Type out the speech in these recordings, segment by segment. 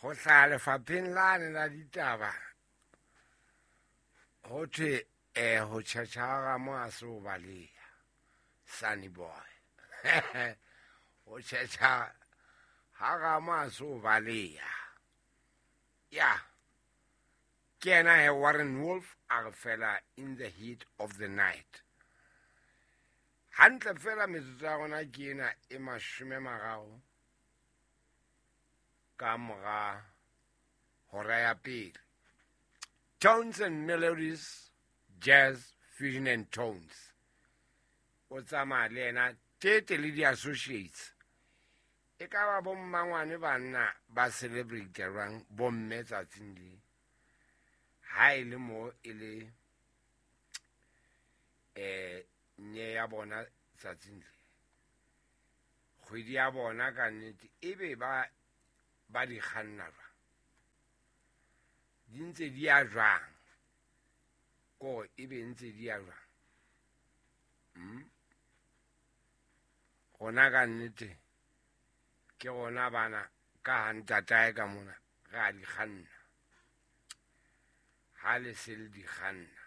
Ho hlaha lefapheng lane la ditaba ho thwe ho tjhetjha ha Ramo ha se ho baleha, Sunny Boy. Ho tjhetjha ha Ramo ha se ho baleha. Ya, ke yena he Warren Wolf a re fela In the Heat of the Night. Hantle fela metsotso ya rona ke ena e 30 ka mora hora ya pele. Tones and Melodies, Jazz, Fusion and Tones. O tsamaya le yena Tete le di-associates. E ka ba bo mmangwane banna ba celebrate jwang bomme tsatsing le. Ha e le mo e le nye ya bona tsatsing le. Kgwedi ya bona ka nnete ebe ba di kganna jwang. Di ntse di ya jwang. Ko ebe ntse di ya jwang. Rona ka nnete ke rona bana ka ha ntatae ka mona re a di kganna. Ha le se le di kganna.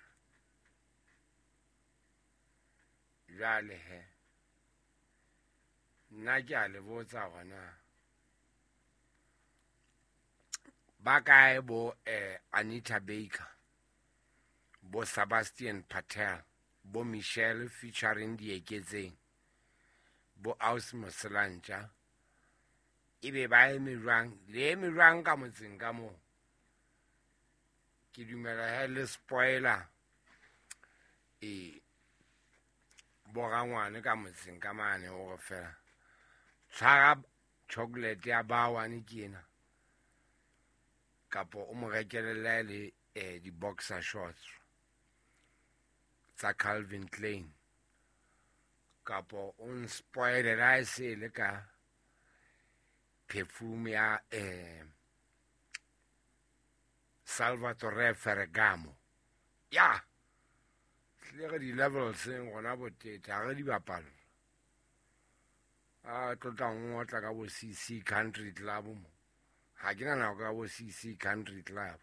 Jwale he, nna ke a le botsa hore ba kae bo Anita Baker, bo Sebastian Patel, bo Michelle featuring Dieketseng, bo Aus Moselantja, ebe ba eme jwang, le eme jwang ka motseng ka moo? Ke dumela he le spoiler borangwane ka motseng ka mane hore fela tshwara chocolate ya bawane ke ena, kapo o mo rekele le di-boxer shorts tsa Calvin Klein, kapo o nspoile la e se le ka perfume ya Salvatore Ferragamo. Ya hle re di-levels rona botete ha re di bapalla. A tlotla ngotla ka bo CC Country Club mo. Ha ke na nako ka bo CC Country Club.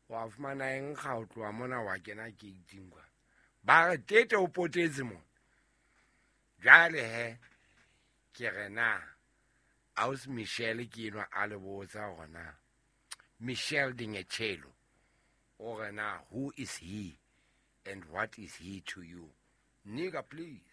Wa fumana eng ga o tloha mona wa kena gating kwa. Ba re tete o potetse mo. Jwale he ke re na Aus Michelle ke enwa a le botsa hore na Michelle Dingechelo o re na who is he and what is he to you? Nigga, please.